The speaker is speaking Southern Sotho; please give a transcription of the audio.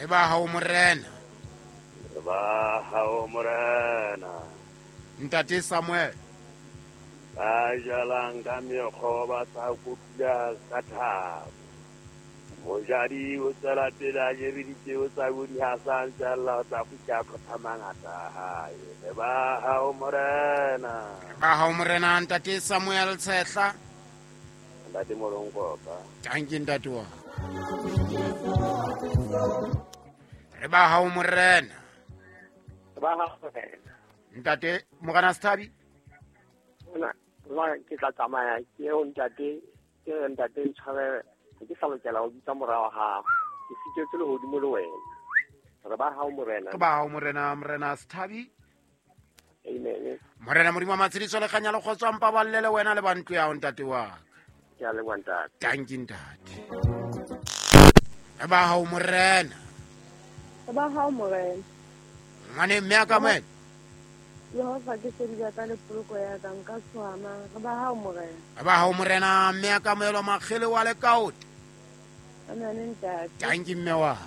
Re ba hao morena. Re ba hao morena. Ntate Samuel. Ba jalang ka mekgo ba tla kotula ka thabo. Mojadi o tswela pele a jere dipeo tsa bodi ha sa ntse a lla o tla kgutla a qotha mangata a hae. Re ba hao morena. Re ba hao morena ntate Samuel Tshehla. Ntate Molonkoka. Tanki ntate wa. Re ba hao morena. Re ba hao morena. Ntate Morena Sethabi. Ona jwale ke tla tsamaya ke ye ho ntate ke re ntate ntshwarele ha ke sa lokela ho bitsa mora wa gago ke sitetswe lehodimo le wena re ba hao morena. Re ba hao morena morena Sethabi. Amen. Morena modimo wa matshediso le kganya le kgotso a mpaballe le wena le ba ntlo ya hao ntate wa ka. Ke a leboha ntate. Tanki ntate. Re ba hao morena. Re ba hao morena. Ngwane mme a ka moena. Jehova ke sedi ya ka le poloko ya ka nka tshoha mang. Re ba hao morena. Re ba hao morena mme a ka moelwa makgele wa lekaote. Amen ntate. Tanki mme wa.